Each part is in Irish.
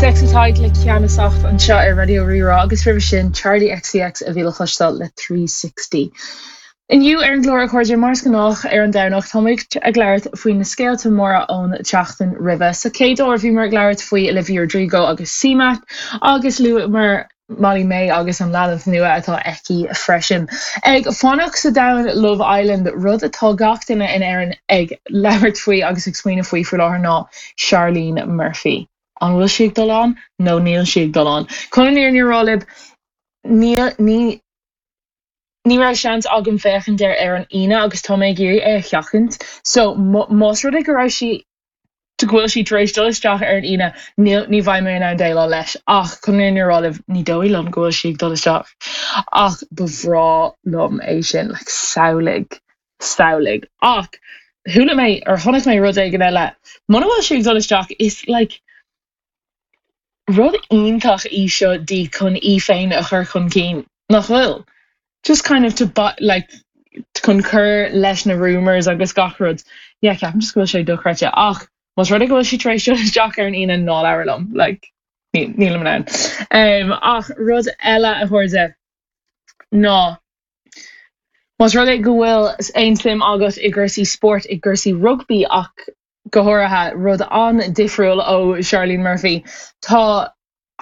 Sex Tadhg le Ceannasacht anseo ar Raidió Rí-Rá agus roimhe sin Charli XCX a bhí le cloisteáil le 360. Inniu ar an gclár, a chairde, mar is gnách ar an Domhnach, táimid ag labhairt faoi na scéalta móra ón tseachtain roimhe. Sa chéad uair bhíomar ag labhairt faoi Olivia Rodrigo agus CMAT agus luamar Molly Mae agus an leanbh nua atá aici freisin. Ag fanacht sa domhan Love Island, rud atá gach duine in Éirinn ag labhairt faoi agus ag smaoineamh faoi faoi láthair ná Charlene Murphy. An bhfuil sí ag dul ann nó níl sí ag dul ann? Chun an fhírinne a rá libh, níl, ní, ní raibh seans agam féachaint air ar an Aoine agus tá mé ag iarraidh é a sheachaint. So, más rud é go raibh sí go bhfuil sí tar éis dul isteach ar an Aoine, níl, ní bheidh mé in ann déileáil leis. Ach chun an fhírinne a rá libh, ní dóigh liom go bhfuil sí ag dul isteach. Ach ba bhreá liom é sin, like, samhlaigh, samhlaigh. Ach chuala mé, or chonaic mé rud éigin eile, muna bhfuil sí ag dul isteach, is like, Rud iontach í seo di chun í féin a chur chun cinn, nach bhfuil? Just kind of to like chun cur leis na rumours agus gach rud. Yeah, ceapaim just go bhfuil sé dochreidte. Ach más rud é go bhfuil sí tar éis dul isteach ar an Aoine, ná labhair liom, like, nílim in ann. Um, ach rud eile a chairde ná más rud é go bhfuil aon suim agat i gcúrsaí spóirt, i gcúrsaí rugbaí ach go háirithe, rud an-difriúil ó Charlene Murphy. Tá,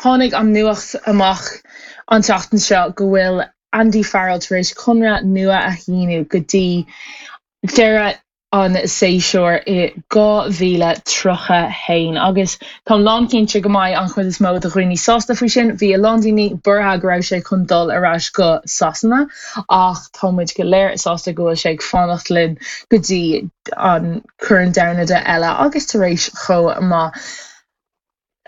tháinig an nuacht amach an tseachtain seo go bhfuil Andy Farrell tar éis conradh nua a shíniú go dtí deireadh an séasúir i 2031 agus táim lánchinnte go mbeidh an chuid is mó de dhaoine sásta faoi sin. Bhí a lán daoine buartha go raibh sé chun dul ar ais go Sasana ach tá muid go léir sásta go bhfuil sé ag fanacht linn go dtí an Corn Domhanda eile agus tar éis chomh maith.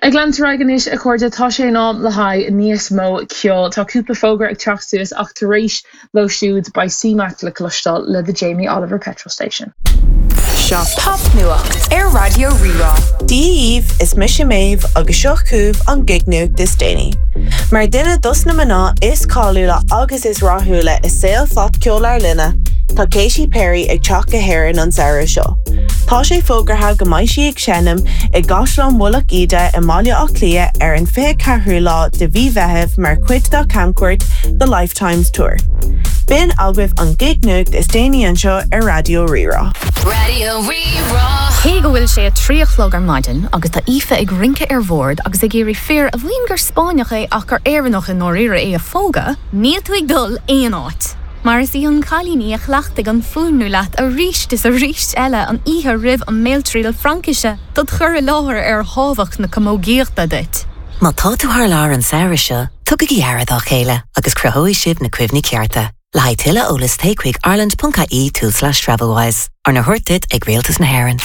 Ag leanúint ar aghaidh anois, a chairde, tá sé in am le haghaidh níos mó ceoil. Tá cúpla fógra ag teacht suas ach tar éis leo siúd beidh CMAT le cloisteáil le The Jamie Oliver Petrol Station. Seo Popnuacht ar Raidió Rí-Rá. Dia dhaoibh, is mise Méabh agus seo chugaibh an gig-nuacht is déanaí. Mar duine dos na mná is cáiliúla agus is rathúla i saol phopcheol ár linne, tá Katy Perry ag teacht go hÉirinn an samhradh seo. Tá sé fógartha go mbeidh sí ag seinm i gCaisleán Mhullach Íde i mBaile Átha Cliath ar an 24ú lá de mhí Mheithimh mar chuid dá camchuairt The Lifetimes Tour. B'in agaibh an gig-nuacht is déanaí anseo ar Raidió Rí-Rá. Raidió Rí-Rá. Cé go bhfuil sé a 3 a chlog ar maidin agus tá Aoife ag rince ar bhord agus ag iarraidh fear a mhaíonn gur Spáinneach é ach gur Éireannach i ndáiríre é a phógadh, níl tú ag dul aon áit! Mar is í an cailín í a chleachtaigh an fuaimniú leat arís is arís eile an oíche roimh an mbéaltriail Fraincise dod chur i láthair ar thábhacht na camógaíochta duit. Má tá tú thar lear an samhradh seo, tugaigí aire dá chéile agus cruthóidh sibh na cuimhní cearta. Le haghaidh tuilleadh eolais téigh chuig ireland.ie tulslais travelwise. Arna thabhairt duit ag Rialtas na hÉireann.